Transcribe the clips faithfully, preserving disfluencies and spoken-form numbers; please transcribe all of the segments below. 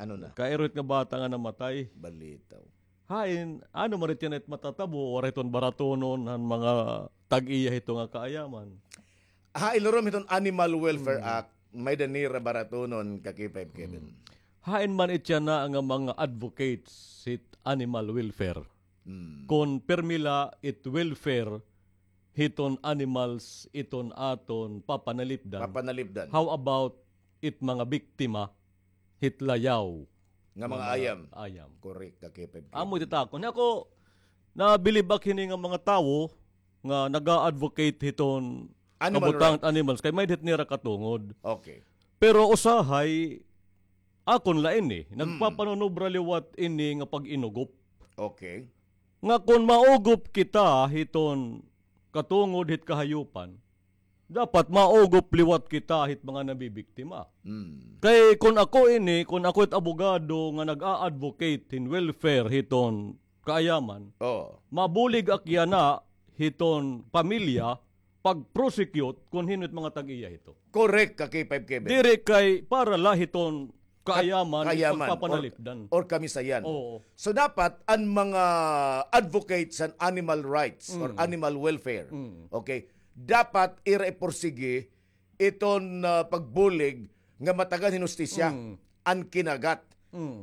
Ano na? Kairuhit nga bata nga namatay. Balitaw. Hain, ano man it yana it matatabo, waray hiton baratonon han mga tag-iya hito nga kaayaman. Ha, ilurom hiton Animal Welfare Act, may-ada nira baratonon ka K five Kevin. Hain man it yana nga mga advocates hit animal welfare. Kon pirmi la it welfare hiton animals iton aton papanalipdan. Papanalipdan. How about it mga biktima hit layaw? Nga mga ayam. Ayam. Correct, ka K five Kevin. Amo it it akon. Ako, nabilib ak hini nga mga tawo nga naga-advocate hiton kabutang hit animals kay may-ada hit nira katungod. Okay. Pero usahay, akon la ini, nagpapanunobra liwat ini nga pag-inugop. Okay. Nga kon maugop kita hiton katungod hit kahayupan, dapat maugop liwat kita hit mga nabibiktima. Kay kon ako ini, kon ako it abogado nga nag-a-advocate hin welfare hiton kaayaman, mabulig ak yana hiton pamilya pag-prosecute kon hin-o it mga tag-iya hito. Correct ka, K five Kevin. Diri kay para la hiton kaayaman, kaayaman, pagpapanalipdan. Or, or kamisayan. Oo. So, dapat an mga advocates han animal rights or animal welfare, okay, dapat ira ipursigi iton, ah, pagbulig nga matagan hin hustisya an kinagat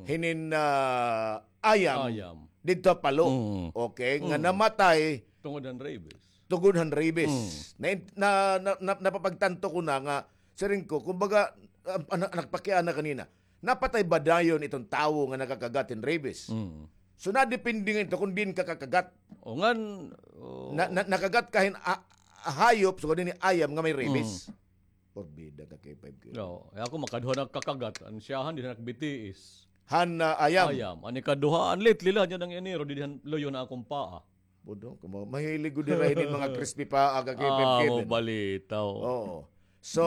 hinin, ah, ayam didto ha Palo. Okay, nga namatay tungod han rabies. Tungod han rabies. Na, na, na, na, napapagtanto ko na nga, siring ko, kumbaga, ah, ah, nagpakiana kanina, napatay ba dayon iton tawo nga nakakagat hin rabies? So, nadepende nga ito kung diin ka kakagat. O, ngan, o. Na, na, nakagat ka hin, ah, hayop, sugad hini ayam nga may rabies. Porbida ka, K five Kevin. No, eh, ako makaduha na kakagat, an siyahan, di na nakabitiis. Han, ah, ayam. Ayam. An ikaduha, an lately la, dyan an Enero, didi han luyo na akon paa. Budong, kamo, mahilig gud dira hinin mga crispy paa ka K five Kevin. Amo balitaw. Oo. So,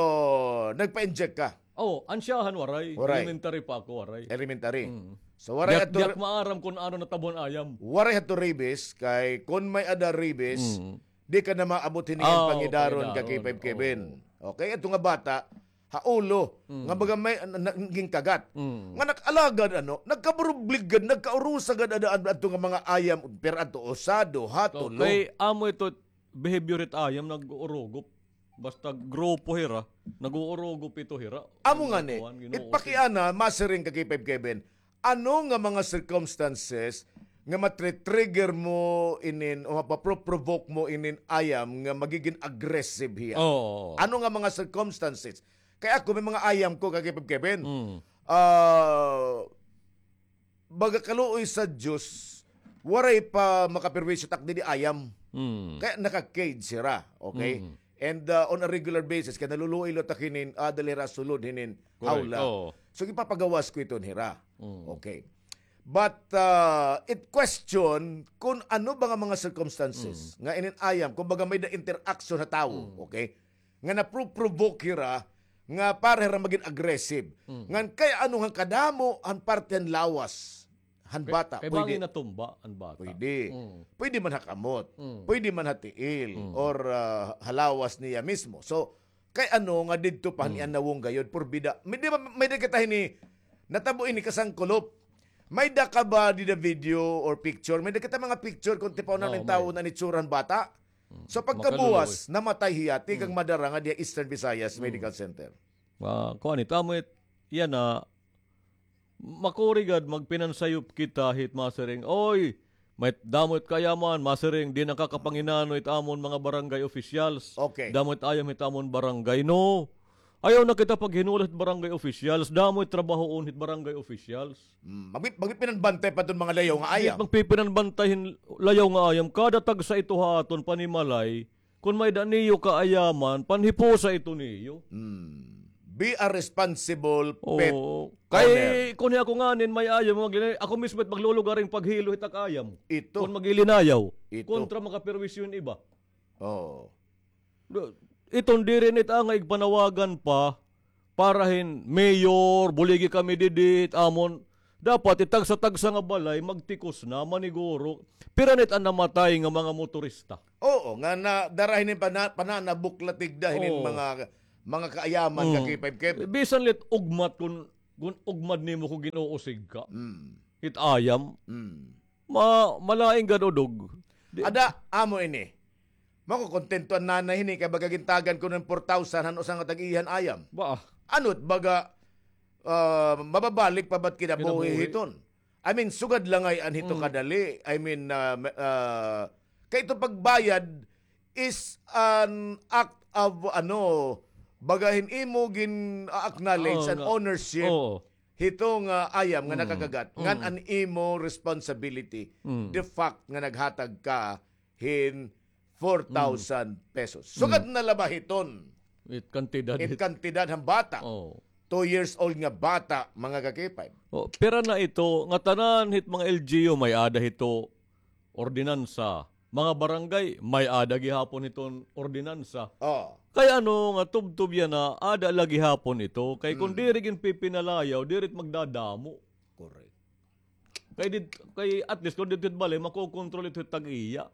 nagpa-inject ka? Oo, an siyahan waray. Waray. Elementary pa ako, waray. Elementary. So, waray hadto. Di ak maaram kon ano natabo han ayam. Waray hadto rabies, kay kon may-ada rabies, di ka na maabot hini nga pangidaron ka K five Kevin. Okay, adto nga bata, ha ulo, nga baga may, na, na, ginkagat. Nga nag-alagad, ano, nagkaburublig gad, nagkaurusa gad, ada, ada, adto nga mga ayam, pero adto usa, duha, tulo. Kay amo ito, behavior it ayam, nag-uurugop. Basta grupo hira, nag-uurugop ito hira. Amo ngani, it pakiana, masiring ka K five Kevin, ano nga mga circumstances nga matre-trigger mo inin o mapapro-provoke mo inin ayam nga magigin aggressive hiya? Oo. Ano nga mga circumstances? Kay ako, may mga ayam ko, ka K five Kevin. Ah, baga kaluoy sa Diyos, waray pa makaperwisyo tak didi ayam. Kay naka-cage hira, okay? And, ah, on a regular basis, kay naluluoy la tak hinin, ah, dali hira sulod hinin hawla. So, gipapagawas ko iton hira. Okay. But, ah, it question kon ano ba nga mga circumstances nga inin ayam, kumbaga may-ada interaction ha tawo, okay? Nga napro-provoke hira, nga para hira magin aggressive. Ngan kay ano nga kadamo han parte han lawas han bata. Kay bangin natumba an bata. Pwede. Pwede man ha kamot. Pwede man ha tiil. Or, ah, ha lawas niya mismo. So, kay ano nga didto pa han iya nawong gayod, porbida. May di ba, may-ada kita hini, natabo ini kasangkulop. May-ada ka ba dida video or picture? May-ada kita mga picture kon tipaw na nin tawo na nitsura han bata. So, pagkabuwas, namatay hiya, tikang madara nga diha Eastern Visayas Medical Center. Ah, kuan ito, amo it, yana, makuri gad, magpinansayop kita hit masiring, oy, may damo it kaayaman, masiring, di nakakapanginano it amon mga barangay officials. Okay. Damo it ayam hit amon barangay. No. Ayaw na kita paghinulat hit barangay officials. Damo it trabahoon hit barangay officials. Magpi-, magpipinanbantay pa iton mga layaw nga ayam. Magpipinanbantay hin layaw nga ayam. Kada tagsa ito ha aton panimalay, kon may-ada niyo kaayaman, panhipusa ito niyo. Be a responsible pet owner. Kay kon ako nganin may ayam, maglinay-, ako mismo it maglulugar hin paghilo hit ak ayam. Ito. Kon maglilinayaw. Ito. Kontra makaperwisyo hin iba. Oo. Iton diri na it angay igpanawagan pa para hin mayor, buligi kami didi, it amon. Dapat it tagsa-tagsa nga balay, magtikos na, maniguro. Pira na it an namatay nga mga motorista? Oo, nga na, dara hinin pana-, pananabok la tigda hinin mga, mga kaayaman nga K five Kevin. Bisan la it ugmat kon Kun ugmad nimo kun gin-uusig ka. Mm. It ayam. Mm. Ma-, malain gad udog. Di- Ada, amo ini. Makukontento an nanay hini kay baga gintagan kuno hin four thousand han usa nga tag-iya han ayam. Ba? Ano't baga, ah, mababalik pa ba't kinabuhi hiton? I mean, sugad la ngay-an hito kadali. I mean, ah, ma-, ah, kay ito pagbayad is an act of, ano, baga hin imo gin-acknowledge an ownership hito nga ayam nga nakakagat, ngan an imo responsibility, the fact nga naghatag ka hin four thousand pesos. Sugad na la ba hiton? It kantidad. It kantidad han bata. Two years old nga bata, mga ka-K five. Oh, pira na ito, nga tanan hit mga L G U may-ada hito ordinansa. Mga barangay, may-ada gihapon hiton ordinansa. Oh. Kay ano nga tubtob yana, ada la gihapon ito. Kay kun diri ginpipinalayaw, diri it magdadamo. Correct. Kay dit-, kay at least kun didto it balay, makokontrol ito it tag-iya.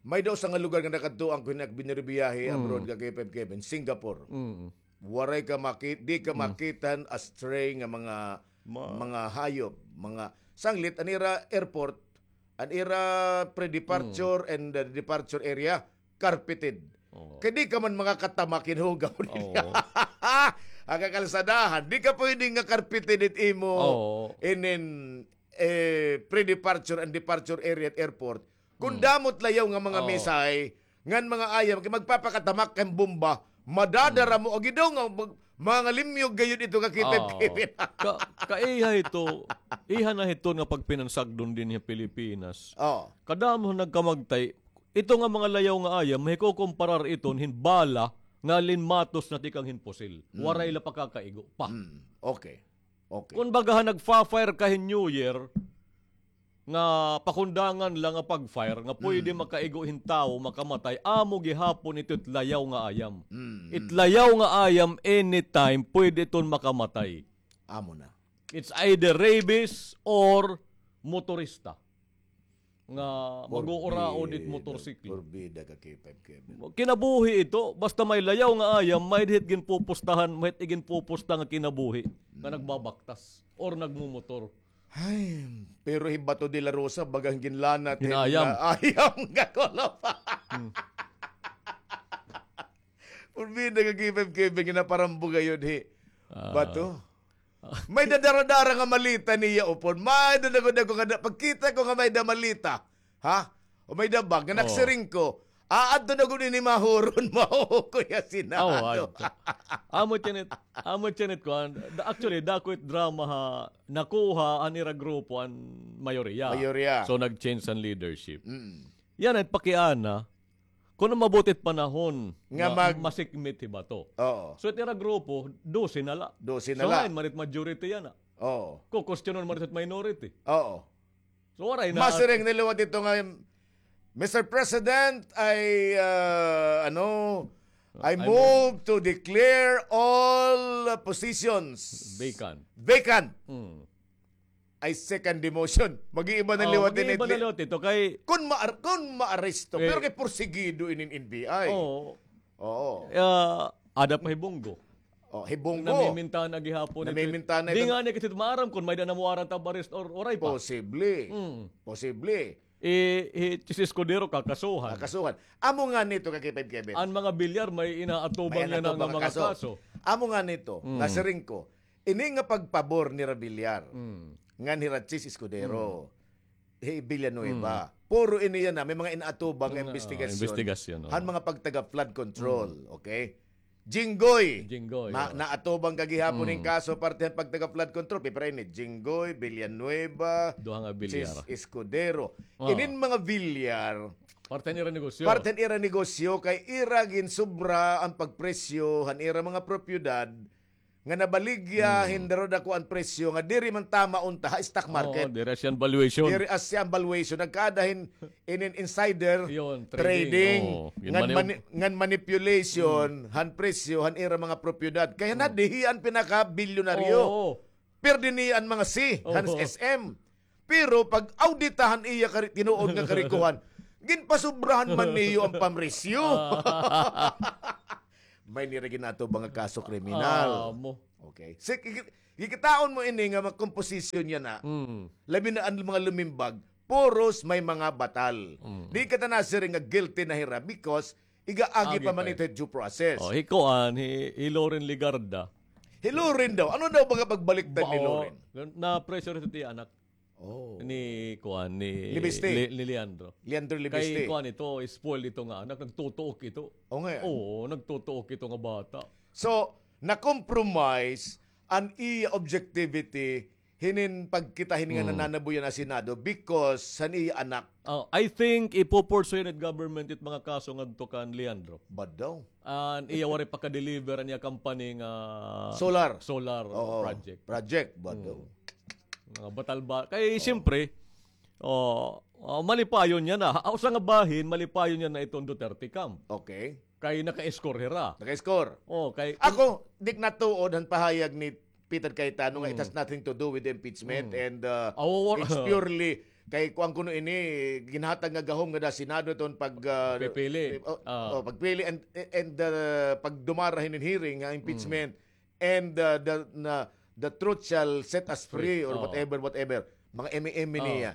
May-ada usa nga lugar nga nakadtuan ko hin ak biniyahe abroad ka K five Kevin, Singapore. Mm. Waray ka maki-, di ka makita hin astray nga mga, mga hayop, mga sanglit, an ira airport, an ira pre-departure and, uh, departure area, carpeted. Oo. Kay di ka man makakatamak hin hugaw niya. Oo. An kakalsadahan, di ka pwede nga carpeted it imo inin, eh, pre-departure and departure area at airport. Kun damo it layaw nga mga misay, ngan mga ayam, kay magpapakatamak kay bomba, madadara mo, agi daw nga mag-, mga limyog gayod ito ka K five Kevin. Ka-, kaiha ito, iha na hiton nga pagpinansagdon dinhi ha Pilipinas. Oo. Kadamo nagkamagtay, ito nga mga layaw nga ayam, mahikukumparar iton hin bala nga linmatos na tikang hin pusil. Mm. Waray la pakakaigo pa. Mm. Okay. Okay. Kun baga ha nagfa-fire ka hin New Year, nga pakundangan la nga pag-fire, nga pwede makaigo hin tawo, makamatay, amo gihapon ito it layaw nga ayam. Mm, mm. It layaw nga ayam, anytime, pwede iton makamatay. Amo na. It's either rabies or motorista. Nga mag-uuraon it motorsiklo. Porbida ka, K five Kevin. Kinabuhi ito, basta may layaw nga ayam, may-ada hit ginpupustahan, may-ada hit iginpupusta nga kinabuhi, nga nagbabaktas, or nagmumotor. Ay, pero hi Bato de la Rosa, baga hin ginlanat hin ayam. Ayam nga kulop. Hmm. Porbida ka K five Kevin, ginaparambo gayod hi Bato. May-ada dara-dara nga maleta niya upon. May-ada dagko-dagko nga da-, pagkita ko nga may-ada maleta. Ha? O may-ada bag nga nagsiring ko. Aadto na gud ini mahuron mo, Kuya Sinado. Aw, adto. Amo tiyan it, amo tiyan it kuan. Da-, actually, dako it drama ha, nakuha an ira grupo an mayoriya. Mayoriya. So, nag-change an leadership. Mm. Yana it pakiana, kun maabot it panahon nga masikmit hi Bato. Oo. So, it ira grupo, dose na la. Dose na la. So, ngain man it majority yana. Oo. Kukwestiyonon man it minority. Oo. So, waray na. Masiring na liwat ito nga, "Mister President, I, uh, ano, I move to declare all positions vacant." Vacant. Mm. I second the motion. Mag-iiba na liwat ini. Mag-iiba na liwat ito kay kun ma-, kun maaresto. Pero kay porsigido inin N B I. Oo. Oo. Ah, ada pa hi Bong Go. Oh, hi Bong Go. Namimintana gihapon ito. Namimintana. Di ngani kita maaram kun may-ada na warrant of arrest or waray pa. Posible. Mm. Posible. Eh, hi Chiz Escudero kakasuhan. Kakasuhan. Amo ngani ito ka K five Kevin. An mga Villar may inaatubang yana nga mga kaso. Amo ngani ito, nasiring ko, ini nga pagpabor nira Villar, ngan hira Chiz Escudero, hi Villanueva. Puro ini yana, may mga inaatubang nga investigasyon han mga pagtaga flood control, okay? Jinggoy. Jinggoy, na-, naatubang ka gihapon hin kaso parte han pagtaga flood control. Pipira ini, Jinggoy, Villanueva, Chiz Escudero. Inin mga Villar, parte han ira negosyo. Parte han ira negosyo kay ira ginsubra an pagpresyo han ira mga propiedad nga nabaligya hin daradako an presyo nga diri man tama unta ha stock market. Oo, diri asya an valuation. Diri asya an valuation. Nagkaada hin inin insider trading. Ngan mani-, ngan manipulation han presyo han ira mga propiedad. Kay nadihi an pinakabilyonaryo. Oo. Pirdi niya an mga C han S M. Pero pag-audita han iya kari-, tinuod nga karikohan, ginpasubrahan man niyo an pamresyo. May nira ginatubang nga kaso kriminal. Ah, mo. Okay. So, kikitaon mo ini nga mga komposisyon niya na. Mm. Labi na an mga lumimbag, puros may mga batal. Mm. Di ka ta nasiring nga guilty na hira because igaagi pa man ito due process. Oh, hi kuan, hi, hi Loren Legarda. Hi Loren daw. Ano daw mga pagbaliktad ni Loren? Na-pressure ito ti anak. Oh. Ni kuan, ni Libiste. Li-, ni Leandro. Leandro Libiste. Kay kuan ito, spoil ito nga anak, nagtutuok ito. O nga. Oo, nagtutuok ito nga bata. So, na-compromise an iya objectivity hinin pagkita hini nga nananabuyan ha Senado because han iya anak. Oh, I think ipo-pursue it government it mga kaso ngadto kan Leandro. Bad daw. An iya waray pa ka-deliver an iya company nga solar, solar project. Project, bad daw. Mga batal ba? Kay siyempre, oh, oh, malipayon niya na. Usa nga bahin, malipayon niya na iton Duterte camp. Okay. Kay naka-score hira. Naka-score. Oh, kay ako, di ko natuod han pahayag ni Peter Cayetano nga it has nothing to do with the impeachment and, uh, it's purely kay kuan kuno ini, ginhatag nga gahom ngada Senado iton pag, uh, pipili. Oh, pagpili and, and, uh, pagdumara hinin hearing nga impeachment. And, uh, the, na, the truth shall set us free or whatever, whatever. Mga M M niya.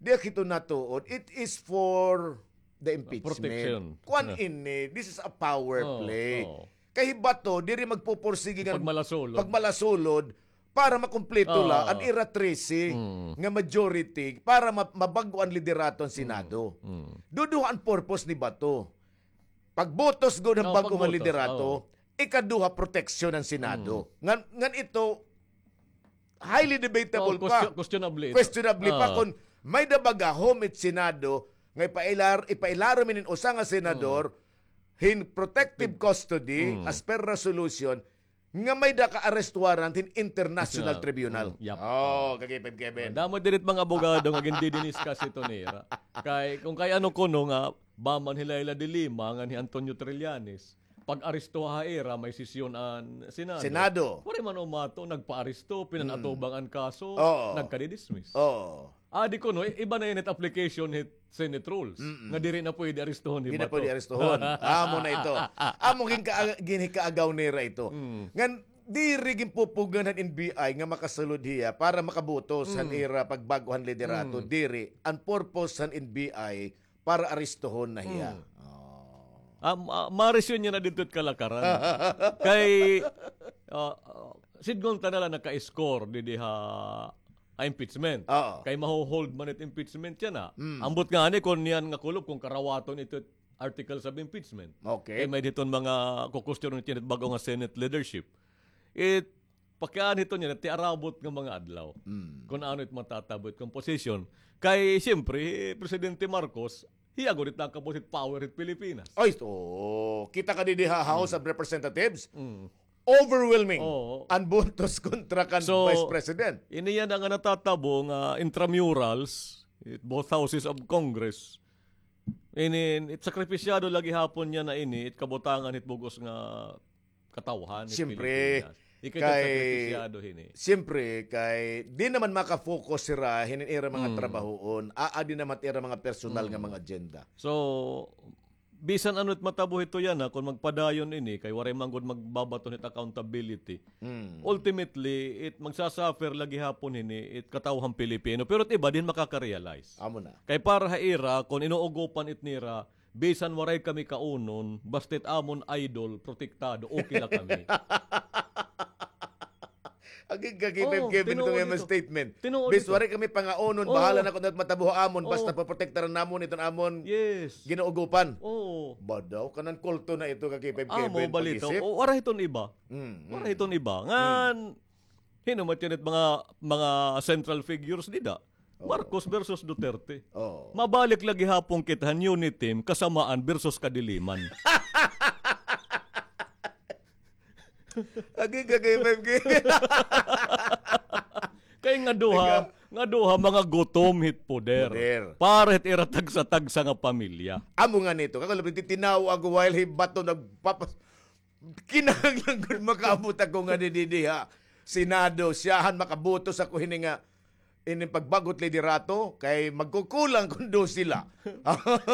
Di ak hito natuod. It is for the impeachment. Protection. Kuan ini, this is a power play. Kay hi Bato, diri magpupursige nga pagmalasulod para makumpleto la an ira trese nga majority para ma-, mabag-o an liderato han Senado. Duduha an purpose ni Bato. Pagbutos gud han bag-o nga liderato, ikaduha, proteksyon han Senado. Ngan, ngan ito, highly debatable pa. Questionable pa kon may-ada ba gahom it Senado nga ipailar-, ipailarom inin usa nga senador hin protective custody as per resolution nga may-ada ka arrest warrant hin international tribunal. Oh, kay Kevin. Damo diri it mga abogado nga gindidiniscuss ito nira. Kay, kung kay ano kuno nga, ba man hi Leila de Lima ngan hi Antonio Trillanes, pag-aresto ha ira, may sesyon an Senado. Senado. Waray man umato, nagpa-aresto, pinanatubang an kaso, nagkadi-dismiss. Oo. Adi kuno, iba na ini it application hit Senate rules. Nga diri na pwede arestohon hi Bato. Diri na pwede arestohon. Amo na ito. Amo ginka-, ginhikaagaw nira ito. Ngan diri ginpupugngan han N B I nga makasulod hiya para makabutos han ira pagbag-o han liderato. Diri, an purpose han N B I para arestohon na hiya. Ah, ma-, marisyon niya na didto it kalakaran. Kay, ah, ah, sidngon ta na la naka-score didi ha, ha impeachment. Oo. Kay maho-hold man it impeachment yana. Ambot ngani kon niyan nga kulop kon karawaton ito it articles of impeachment. Okay. Kay may-ada hiton mga kukwestiyonon niyan it bag-o nga Senate leadership. It pakianhi hiton yana it tiarabot nga mga adlaw. Kon ano it matatabo it composition. Kay, siyempre, hi Presidente Marcos, hiya gud it nakabutang power hit Pilipinas. Ay, oo. Kita ka didi ha House of Representatives, overwhelming an botos kontra kan Vice President. Ini yana nga natatabo nga intramurals, it both houses of Congress. Ini, it sakripisyado la gihapon yana ini, it kabutangan hit bug-os nga katawhan hit Pilipinas. Siyempre, kay, siyempre, kay di naman maka-focus hira hinin ira mga trabahoon, aadi naman it ira mga personal nga mga agenda. So, bisan ano it matabo hito yana, kon magpadayon ini, kay waray man gud magbabaton hit accountability. Ultimately, it magsasuffer la gihapon hini it katawhan Pilipino. Pero it iba, di hin makaka-realize. Amo na. Kay para ha ira, kon inuugopan it nira, bisan waray kami kaunon, basta it amon idol, protektado, okay la kami. Agig ka, K five Kevin, ito nga statement. Bis waray kami pangaunon, bahala na kon ano it matabo ha amon, basta poprotektaran namon iton amon ginaugopan. Oo. Ba daw, kanan kulto na ito ka K five Kevin, pag-isip. Waray hiton iba. Waray hiton iba. Ngan, hin-o man it mga, mga central figures dida. Marcos versus Duterte. Oo. Mabalik la gihapon kita han Uniteam, kasamaan versus kadiliman. Agi ka kay five K. Kay nga duha, nga duha mga gutom hit poder. Poder. Para hit ira tagsa-tagsa nga pamilya. Amo nga nito, kakulop, titinaw ako while hi Bato nagpapas-, kinahanglan gud makaabot ako nga didi ha Senado, siyahan makabutos ako hini nga ini pagbag-o it liderato, kay magkukulang kon dos sila.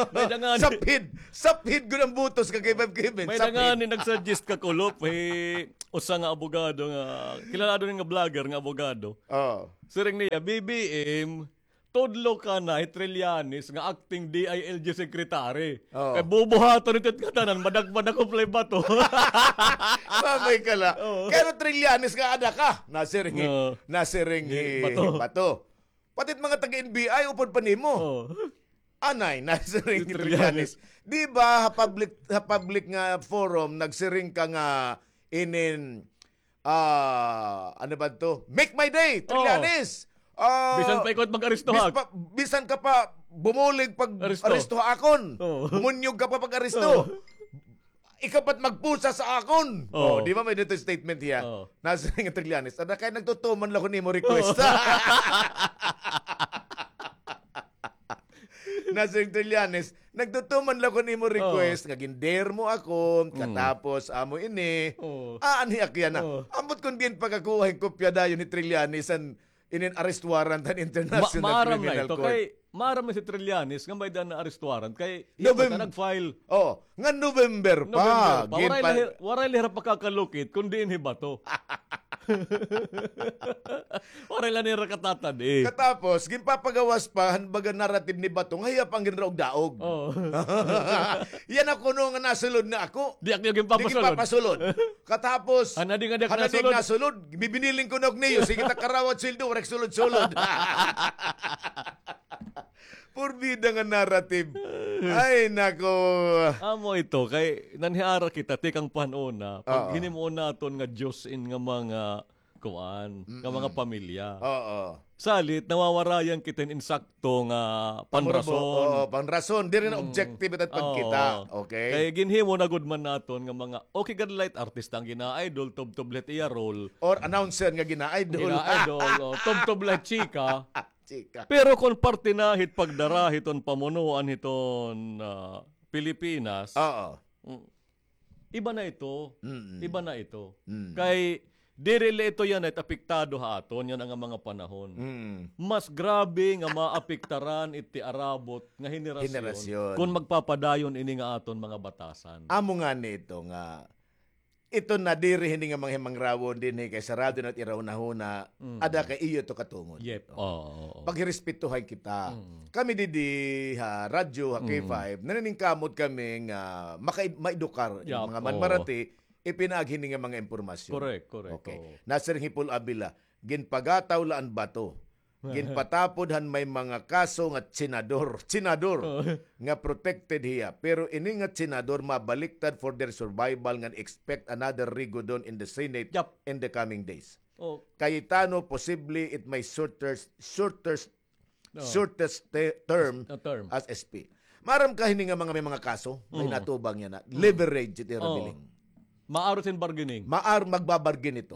May da ngani. Saphid, saphid gud an boto sa K five Kevin. May da ngani nagsuggest kakulop, eh, usa nga abogado nga, kilala daw nga vlogger nga abogado. Oh. Siring niya, B B M, tudlo ka na hi Trillanes nga acting D I L G secretary. Oh. Kay bubuhaton ito it ngatanan, madagmag na kuplay bato. Mamay ka la. Oh. Pero Trillanes nga ada ka, nasiring hi, nasiring hi Bato. Bato. Pati it mga taga-N B I, upod pa nimo. Oh. Anay, nasiring hi Trillanes. Di ba, ha public, ha public nga forum, nagsiring ka nga inin, ah, ano ba to? Make my day, Trillanes! Ah, bisan pa ikaw it mag-aresto ha ak-, bisan ka pa bumulig pag-aresto ha akon. Oh. Bumunyog ka pa pag-aresto. Oh. Ikaw pa it magpusa sa akon. Oh. Oh, di ba may dito statement hiya? Oh. Nasiring hi Trillanes, ada kay nagtutuman la ko nimo request. Oh. Nasiring hi Trillanes, nagtutuman la ko nimo request nga gin-dare mo ako, katapos amo ini. Oh. Aanhi ak yana. Oh. Ambot kon ginpakakuha hin kopya dayon ni Trillanes an inin arrest warrant han International Criminal Court. Kay maaram na si Trillanes nga may-ada na arrest warrant kay hiya pa nag-file. Oh, nga November pa. Waray la hira pakakalukit kon diin hi Bato. Waray la nira katatad-i. Katapos, ginpapagawas pa han baga narrative ni Bato nga hiya pa an ginraog-daog. Oh. Yana kuno nga nasulod na ako. Di ak niyo ginpapasulod. Katapos, han adi nga di ak nasulod, bibiniling ko na ak niyo. Sige, ta karawat sweldo, waray ak sulod-sulod. Purbida nga narrative. Ay, nako. Amo ito, kay nanhiara kita, tikang pa han una, pag hinimo naton nga Diyos in nga mga kuan, nga mga pamilya. Oo. Salit, nawawarayan kita hin insakto nga panrason. Oo, panrason. Diri na objective it pagkita. Okay? Kay ginhimo na gud man naton nga mga, okay, gad la it artista an gina-idol, tubtob la it iya role. Or announcer nga gina-idol. Gina-idol, o, tubtob la it chika. Chika. Pero kon parte na hit pagdara hiton pamunuan hiton, ah, Pilipinas, oo. Mm. Iba na ito. Mm-mm. Iba na ito. Mm. Kay diri la ito yana it apektado ha aton yana nga mga panahon. Mm. Mas grabe nga maapektaran iti arabot nga henerasyon kon magpapadayon ini nga aton mga batasan. Amo ngani ito nga ito na diri hini nga mga himangrawon dinhi kay sarado na it ira hunahuna, ada kay iyo ito katungod. Yep. Oo, oo. Paghirespetuhan kita. Mm. Kami didi ha radyo, ha K five, naniningkamot kami nga maka-, maedukar an mga manmarati, ipinaagi hini nga mga impormasyon. Correct, correct. Okay. Oo. Nasiring hi Paul Avila, ginpagataw la an bato. Ginpatapod han may mga kaso nga tsinador, tsinador, nga protected hiya. Pero ini nga tsinador mabaliktad for their survival ngan expect another Rigodon in the Senate in the coming days. Oh. Cayetano, posible it may shorter, shorter, shortest te-, term as S P. Maaram ka hini nga mga may mga kaso, may natubang yana. Leverage it ira biling. Maaro sin bargaining. Maar, magbabargain ito.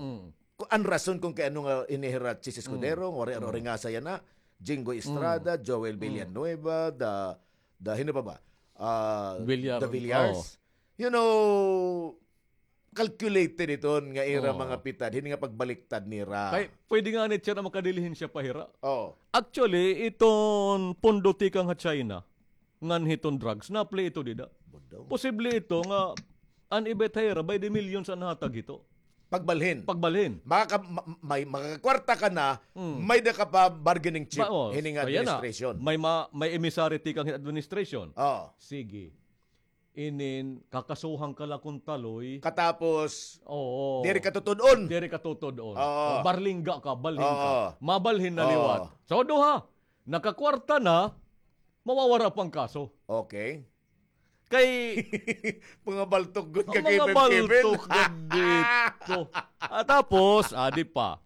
Ku-, an rason kon kay ano nga ini hira Chiz Escudero, waray aro ringasa yana, Jinggoy Estrada, Joel Villanueva, the, the, hino pa ba? Ah, the Villars. You know, calculated iton nga ira mga pitad, hini nga pagbaliktad nira. Kay pwede ngani siya nga makadilihensya pa hira. Oo. Actually, iton pondo tikang ha China, ngan hiton drugs, na-play ito dida. Posible ito nga an iba it ha ira, by the millions an hatag hito. Pagbalhin. Pagbalhin. Makaka-, ma-, may, makakakwarta ka na, may-ada ka pa bargaining chip hini nga administration. May ma-, may emissary tikang administration. Oo. Sige. Inin, kakasuhan ka la kon taloy. Katapos, diri ka tutud-on. Diri ka tutud-on. Oo. Barlingga ka, balhin ka. Oo. Mabalhin na liwat. So, duha, nakakwarta na, mawawara pa an kaso. Okay. Kay mga baltok gud ka, Kevin, Kevin. Mga baltok gud dito. Ah, tapos, adi pa.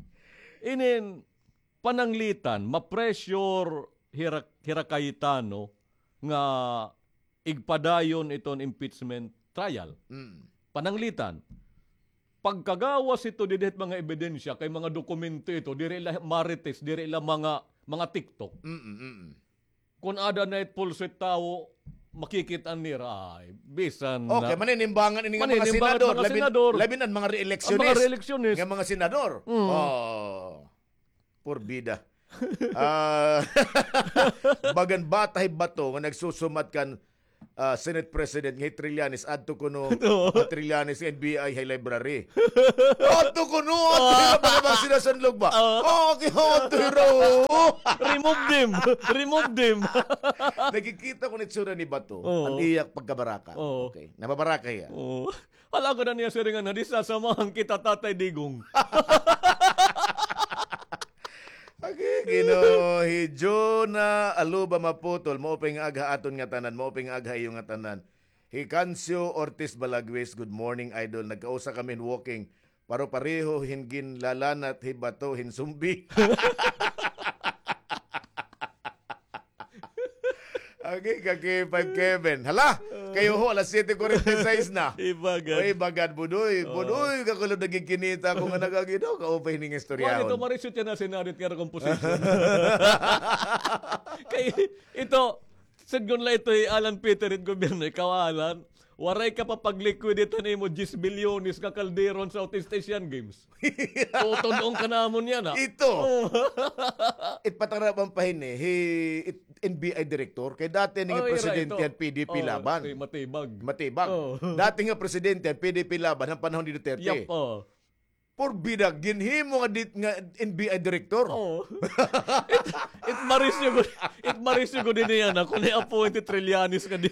Inin, pananglitan, ma-pressure hira, hira Cayetano nga igpadayon iton impeachment trial. Mm. Pananglitan, pagkagawas ito didi hit mga ebidensya, kay mga dokumento ito, diri la marites, diri la mga, mga TikTok. Mm, mm. Kon ada na it pulso it tawo, makikit-an nira, ay, bisan na. Okay, maninimbangan ini nga mga senador, labi na an mga re-electionist nga mga senador. Mm. Oh. Purbida. Ah, bagan bata hi Bato nga nagsusumat kan, ah, Senate President nga hi Trillanes, adto kuno, ah, Trillanes, N B I, hay library. Adto kuno, adto hira, baga ba sila sanlog ba? Okay, adto hira, oo. Remove them. Remove them. Nakikita ko an itsura ni Bato, an iya pagkabaraka. Okay, nababaraka hiya. Hala, ako na niya siringan na, di sasamahan kita, Tatay Digong. Agi, Ginoo, hi Jonah Aluba Maputol, maupay nga aga ha aton ngatanan, maupay nga aga ha iyo ngatanan. Hi Cancio Ortiz Balagwis, good morning, idol. Nagkausa kami hin walking. Paro-pareho hin ginlalanat hi Bato hin sumbi. Agi ka, K five Kevin. Hala, kayo ho, alas siyete kuwarenta y seis na. Ibagad. Oy, bagad, Budoy. Budoy, kakulod na gid kinita ko nga nagagi daw, kaupay ning istorya. Wala ito, Marisyo, tiyan na sinarit nga composition. Kay ito, sidngon la ito hi Alan Peter it gobyerno, ikaw, Alan, waray ka pa pag-liquidate han imo diyes bilyones nga kaldero han Southeast Asian Games. Tutudlon ka namon yana. Ito. It patarabang pa hini, hi, it, N B I director, kay dati nga presidente han P D P Laban. Matibag. Matibag. Dati nga presidente han P D P Laban, han panahon ni Duterte. Yap, oh. Porbida, ginhimo nga dit-, nga N B I director. Oh. It, it Marisyo gud, it Marisyo gud ini yana, kun i-appoint hi Trillanes nga di